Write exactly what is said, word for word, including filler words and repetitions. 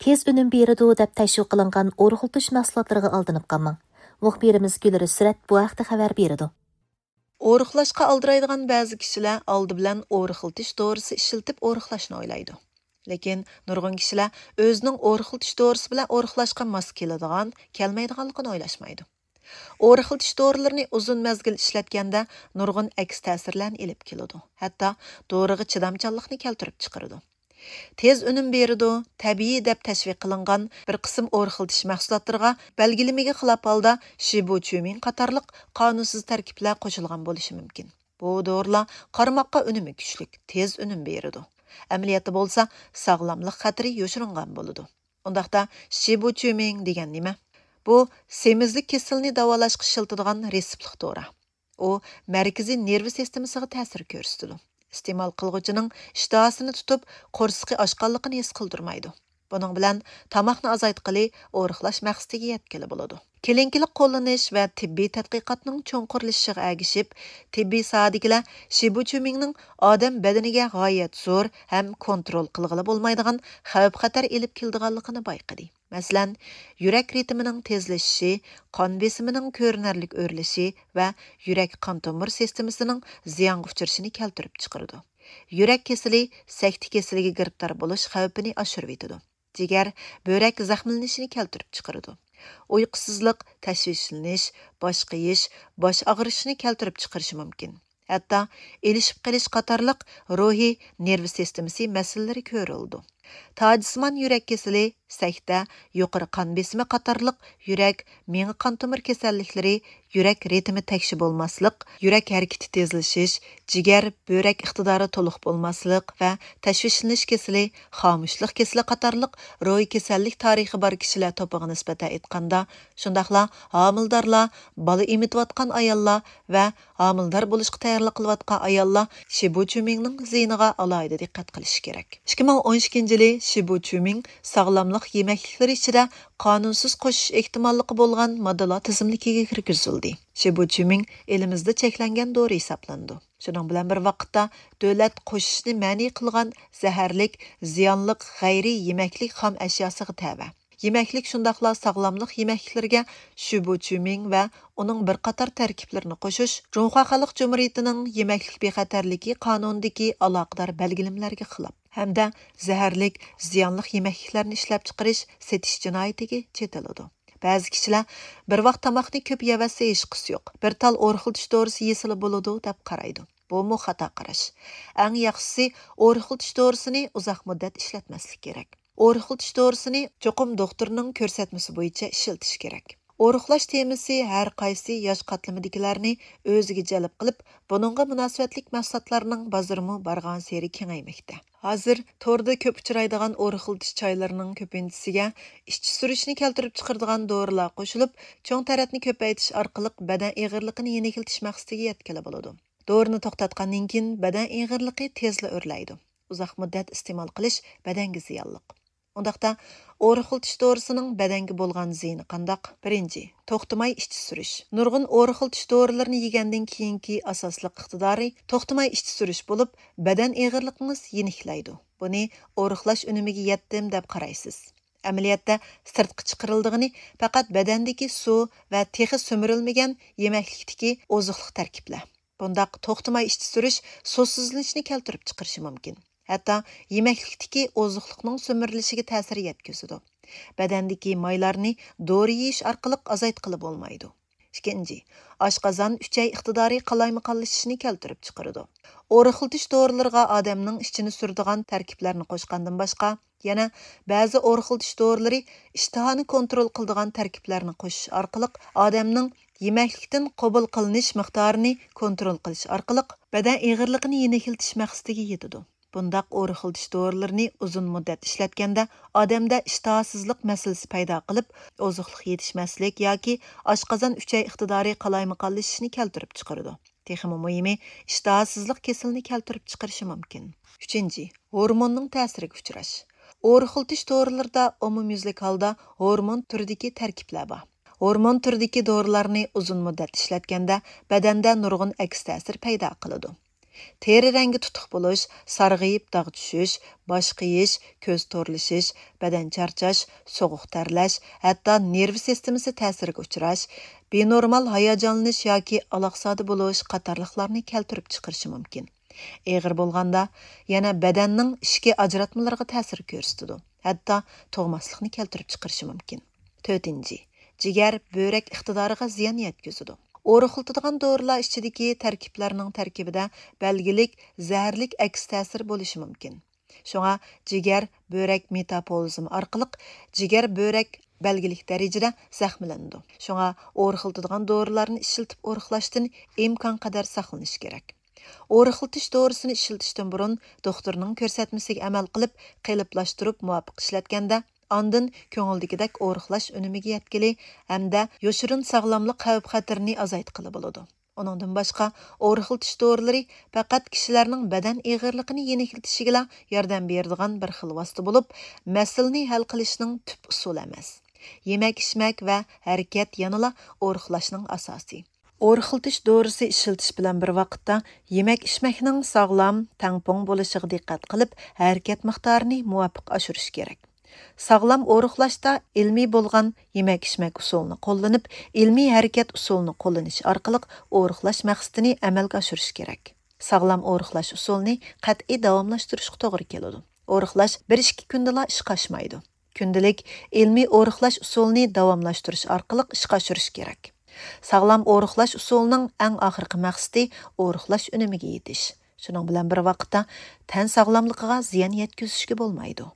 تېز ئۈنۈم بېرىدۇ دەپ تەشۋىق قىلىنغان ئورۇقلىتىش مەھسۇلاتلىرىغا ئالدىنىپ قالماڭ. مۇخبىرىمىز گۈلرىسرەت بۇ ھەقتە خەۋەر بېرىدۇ. ئورۇقلاشقا ئالدىرايدىغان بەزى كىشىلەر ئالدى بىلەن ئورۇقلىتىش دورىسى ئىشلىتىپ ئورۇقلاشنى ئويلايدۇ. لېكىن نۇرغۇن كىشىلەر ئۆزىنىڭ ئورۇقلىتىش دورىسى بىلەن ئورۇقلاشقا ماس كېلىدىغان، كەلمەيدىغانلىقىنى ئويلاشمايدۇ. ئورۇقلىتىش دورىلىرىنى ئۇزۇن مەزگىل ئىشلەتكەندە نۇرغۇن ئەكس تەسىرلەرنى ئېلىپ كېلىدۇ، ھەتتا دورىغا چىدامچانلىقنى كەلتۈرۈپ چىقىرىدۇ. تېز ئۈنۈم بېرىدۇ، تەبىئىي دەپ تەشۋىق قىلىنغان بىر قىسىم ئورۇقلىتىش مەھسۇلاتلىرىغا بەلگىلىمىگە خىلاپ ھالدا شىبۇچيۇمىڭ قاتارلىق قانۇنسىز تەركىبلەر قوشۇلغان بولۇشى مۇمكىن. بۇ دورىلار قارىماققا ئۈنۈمى كۈچلۈك، تېز ئۈنۈم بېرىدۇ. ئەمەلىيەتتە بولسا ساغلاملىق خەتىرى يوشۇرۇنغان بولىدۇ. ئۇنداقتا شىبۇچيۇمىڭ دېگەن نېمە؟ بۇ سېمىزلىك كېسىلىنى داۋالاشقا ئىشلىتىدىغان رېتسېپلىق دورا. ئۇ مەركىزىي نېرۋا سىستېمىسىغا تەسىر كۆرسىتىدۇ. ئىستېمال قىلغۇچىنىڭ ئىشتىھاسىنى تۇتۇپ، قورسىقى ئاچقانلىقىنى ھېس قىلدۇرمايدۇ. بۇنىڭ بىلەن تاماقنى ئازايتقىلى، ئورۇقلاش مەقسىتىگە يەتكىلى بولىدۇ. كلىنىكىلىق قوللىنىش ۋە تېببىي تەتقىقاتنىڭ چوڭقۇرلىشىشىغا ئەگىشىپ، تېببىي ساھەدىكىلەر شىبۇچيۇمىڭنىڭ ئادەم بەدىنىگە غايەت زور ھەم كونترول قىلغىلى بولمايدىغان خەۋپ-خەتەر ئېلىپ كېلىدىغانلىقىنى بايقىدى. مەسىلەن، يۈرەك رىتىمىنىڭ تېزلىشىشى، قان بېسىمىنىڭ كۆرۈنەرلىك ئۆرلىشى ۋە يۈرەك قان تومۇر سىستېمىسىنىڭ زىيانغا ئۇچرىشىنى كەلتۈرۈپ چىقىرىدۇ. يۈرەك كېسىلى، سەكتە كېسىلىگە گىرىپتار بولۇش خەۋپىنى ئاشۇرۇۋېتىدۇ. جىگەر، بۆرەك زەخىملىنىشىنى كەلتۈرۈپ چىقىرىدۇ. ئۇيقۇسىزلىق، تەشۋىشلىنىش، باش قېيىش، باش ئاغرىشنى كەلتۈرۈپ چىقىرىشى مۇمكىن. ھەتتا ئېلىشىپ قېلىش قاتارلىق روھىي، نېرۋا سىستېمىسى مەسىلىلىرى كۆرۈلىدۇ. تاجسىمان يۈرەك كېسىلى، سەكتە، يۇقىرى قان بېسىمى قاتارلىق يۈرەك، مېڭە قان تومۇر كېسەللىكلىرى، يۈرەك رىتىمى تەكشى بولماسلىق، يۈرەك ھەرىكىتى تېزلىشىش، جىگەر، بۆرەك ئىقتىدارى تولۇق بولماسلىق ۋە تەشۋىشلىنىش كېسىلى، خامۇشلۇق كېسىلى قاتارلىق روھىي كېسەللىك تارىخى بار كىشىلەر توپىغا نىسبەتەن ئېيتقاندا، شۇنداقلا ھامىلىدارلار، بالا ئېمىتىۋاتقان ئاياللار ۋە ھامىلىدار بولۇشقا تەييارلىق قىلىۋاتقان ئاياللار شىبۇچيۇمىڭنىڭ زىيىنىغا ئالاھىدە دىققەت قىلىشى كېرەك. ئىككى مىڭ ئون ئىككىنچى يىلى شىبۇچيۇمىڭ ساغلاملىق يېمەكلىكلىرى ئىچىدە قانۇنسىز قوشۇش ئېھتىماللىقى بولغان ماددىلار تىزىملىكىگە كىرگۈزۈلدى. شىبۇچيۇمىڭ ئېلىمىزدا چەكلەنگەن دورا ھېسابلىنىدۇ. شۇنىڭ بىلەن بىر ۋاقىتتا، دۆلەت قوشۇشنى مەنئى قىلغان زەھەرلىك، زىيانلىق غەيرىي يېمەكلىك خام ئەشياسىغا تەۋە. يېمەكلىك، شۇنداقلا ساغلاملىق يېمەكلىكلىرىگە شۈبۇچۈمىڭ ۋە ئۇنىڭ بىر قاتار تەركىبلىرىنى قوشۇش جۇڭخۇا خەلق جۇمھۇرىيىتىنىڭ يېمەكلىك بىخەتەرلىكى قانۇنىدىكى ئالاقىدار بەلگىلىمىلەرگە خىلاپ ھەمدە زەھەرلىك، زىيانلىق يېمەكلىكلەرنى ئىشلەپچىقىرىش، سېتىش جىنايىتىگە چېتىلىدۇ. بەزى كىشىلەر بىر ۋاق تاماقنى كۆپ يەۋەتسە ھېچقىسى يوق، بىر تال ئورۇقلىتىش دورىسى يېسىلا بولىدۇ، دەپ قارايدۇ. بۇمۇ خاتا قاراش. ئەڭ ياخشىسى ئورۇقلىتىش دورىسىنى ئۇزاق مۇددەت ئىشلەتمەسلىك كېرەك. ئورۇقلىتىش دورىسىنى چوقۇم دوختۇرنىڭ كۆرسەتمىسى بويىچە ئىشلىتىش كېرەك. ئورۇقلاش تېمىسى ھەر قايسى ياش قاتلىمىدىكىلەرنى ئۆزىگە جەلپ قىلىپ، بۇنىڭغا مۇناسىۋەتلىك مەھسۇلاتلارنىڭ بازىرىمۇ بارغانسېرى كېڭەيمەكتە. ھازىر توردا كۆپ ئۇچرايدىغان ئورۇقلىتىش چايلىرىنىڭ كۆپىنچىسىگە ئىچى سۈرۈشنى كەلتۈرۈپ چىقىرىدىغان دورىلار قوشۇلۇپ، چوڭ تەرەتنى كۆپەيتىش ئارقىلىق بەدەن ئېغىرلىقىنى يېنىكلىتىش مەقسىتىگە يەتكىلى بولىدۇ. دورىنى توختاتقاندىن كېيىن بەدەن ئېغىرلىقى تېزلا ئۆرلەيدۇ. ئۇزاق مۇددەت ئىستېمال قىلىش بەدەنگە زىيانلىق. ئۇنداقتا، ئورۇقلىتىش دورىسىنىڭ بەدەنگە بولغان زىيىنى قانداق؟ بىرىنچى، توختىماي ئىچى سۈرۈش. نۇرغۇن ئورۇقلىتىش دورىلىرىنى يېگەندىن كېيىنكى ئاساسلىق ئىقتىدارى توختىماي ئىچى سۈرۈش بولۇپ، بەدەن ئېغىرلىقىڭىز يېنىكلەيدۇ. بۇنى ئورۇقلاش ئۈنۈمىگە يەتتىم دەپ قارايسىز. ئەمەلىيەتتە، سىرتقا چىقىرىلىدىغىنى پەقەت بەدەندىكى سۇ ۋە تېخى سۈمۈرۈلمىگەن يېمەكلىكتىكى ئوزۇقلۇق تەركىبلەر. بۇنداق توختىماي ئىچى سۈرۈش سۇسىزلىنىشنى كەلتۈرۈپ چىقىرىشى مۇمكىن. ھەتتا يېمەكلىكتىكى ئوزۇقلۇقنىڭ سۈمۈرۈلۈشىگە تەسىر يەتكۈزىدۇ. بەدەندىكى مايلارنى دورا يېيىش ئارقىلىق ئازايتقىلى بولمايدۇ. ئىككىنچى، ئاشقازان ئۈچەي ئىقتىدارى قالايمىقانلىشىشنى كەلتۈرۈپ چىقىرىدۇ. ئورۇقلىتىش دورىلىرىغا ئادەمنىڭ ئىچىنى سۈرىدىغان تەركىبلەرنى قوشقاندىن باشقا، يەنە بەزى ئورۇقلىتىش دورىلىرى ئىشتىھانى كونترول قىلىدىغان تەركىبلەرنى قوشۇش ئارقىلىق ئادەمنىڭ يېمەكلىكتىن قوبۇل قىلىنىش مىقدارىنى كونترول قىلىش ئارقىلىق بەدەن ئېغىرلىقىنى يېنىكلىتىش مەقسىتىگە يېتىدۇ. بۇنداق ئورۇقلىتىش دورىلىرىنى ئۇزۇن مۇددەت ئىشلەتكەندە، ئادەمدە ئىشتىھاسىزلىق مەسىلىسى پەيدا قىلىپ، ئوزۇقلۇق يېتىشمەسلىك ياكى ئاشقازان ئۈچەي ئىقتىدارى قالايمىقانلىشىشنى كەلتۈرۈپ چىقىرىدۇ. تېخىمۇ مۇھىمى، ئىشتىھاسىزلىق كېسىلىنى كەلتۈرۈپ چىقىرىشى مۇمكىن. ئۈچىنچى، ھورموننىڭ تەسىرىگە ئۇچراش. ئورۇقلىتىش دورىلىرىدا ئومۇميۈزلۈك ھالدا ھورمون تۈرىدىكى تەركىبلەر بار. ھورمون تۈرىدىكى دورىلارنى ئۇزۇن مۇددەت ئىشلەتكەندە، بەدەندە نۇرغۇن ئەكس تەسىر پەيدا قىلىدۇ. تېرە رەڭگى تۇتۇق بولۇش، سارغىيىپ داغ چۈشۈش، باش قېيىش، كۆز تورلىشىش، بەدەن چارچاش، سوغۇق تەرلەش، ھەتتا نېرۋا سىستېمىسى تەسىرىگە ئۇچراش، بىنورمال ھاياجانلىنىش ياكى ئالاقزادە بولۇش قاتارلىقلارنى كەلتۈرۈپ چىقىرىشى مۇمكىن. ئېغىر بولغاندا، يەنە بەدەننىڭ ئىچكى ئاجراتمىلىرىغا تەسىر كۆرسىتىدۇ، ھەتتا تۇغماسلىقنى كەلتۈرۈپ چىقىرىشى مۇمكىن. تۆتىنچى، جىگەر، بۆرەك ئىقتىدارىغا زىيان يەتكۈزىدۇ. ئورۇقلىتىدىغان دورىلار ئىچىدىكى تەركىبلەرنىڭ تەركىبىدە بەلگىلىك زەھەرلىك ئەكس تەسىر بولۇشى مۇمكىن. شۇڭا جىگەر، بۆرەك مېتابولىزمى ئارقىلىق جىگەر، بۆرەك بەلگىلىك دەرىجىدە زەخىملىنىدۇ. شۇڭا ئورۇقلىتىدىغان دورىلارنى ئىشلىتىپ ئورۇقلاشتىن ئىمكانقەدەر ساقلىنىش كېرەك. ئورۇقلىتىش دورىسىنى ئىشلىتىشتىن بۇرۇن دوختۇرنىڭ كۆرسەتمىسىگە ئەمەل قىلىپ، قېلىپلاشتۇرۇپ مۇۋاپىق ئىشلەتكەندە، ئاندىن كۆڭۈلدىكىدەك ئورۇقلاش ئۈنۈمىگە يەتكىلى ھەمدە يوشۇرۇن ساغلاملىق خەۋپ-خەتىرىنى ئازايتقىلى بولىدۇ. ئۇنىڭدىن باشقا، ئورۇقلىتىش دورىلىرى پەقەت كىشىلەرنىڭ بەدەن ئېغىرلىقىنى يېنىكلىتىشىگىلا ياردەم بېرىدىغان بىر خىل ۋاسىتە بولۇپ، مەسىلىنى ھەل قىلىشنىڭ تۈپ ئۇسۇلى ئەمەس. يېمەك-ئىچمەك ۋە ھەرىكەت يەنىلا ئورۇقلاشنىڭ ئاساسى. ئورۇقلىتىش دورىسى ئىشلىتىش بىلەن بىر ۋاقىتتا، يېمەك-ئىچمەكنىڭ ساغلام، تەڭپۇڭ بولۇشىغا دىققەت قىلىپ، ھەرىكەت مىقدارىنى مۇۋاپىق ئاشۇرۇش كېرەك. ساغلام ئورۇقلاشتا ئىلمىي بولغان يېمەك-ئىچمەك ئۇسۇلىنى قوللىنىپ، ئىلمىي ھەرىكەت ئۇسۇلىنى قوللىنىش ئارقىلىق ئورۇقلاش مەقسىتىنى ئەمەلگە ئاشۇرۇش كېرەك. ساغلام ئورۇقلاش ئۇسۇلىنى قەتئىي داۋاملاشتۇرۇشقا توغرا كېلىدۇ. ئورۇقلاش بىر-ئىككى كۈندىلا ئىشقا ئاشمايدۇ. كۈندىلىك ئىلمىي ئورۇقلاش ئۇسۇلىنى داۋاملاشتۇرۇش ئارقىلىق ئىشقا ئاشۇرۇش كېرەك. ساغلام ئورۇقلاش ئۇسۇلىنىڭ ئەڭ ئاخىرقى مەقسىتى ئورۇقلاش ئۈنۈمىگە يېتىش. شۇنىڭ بىلەن بىر ۋاقىتتا، تەن ساغلاملىقىغا زىيان يەتكۈزۈشكە بولمايدۇ.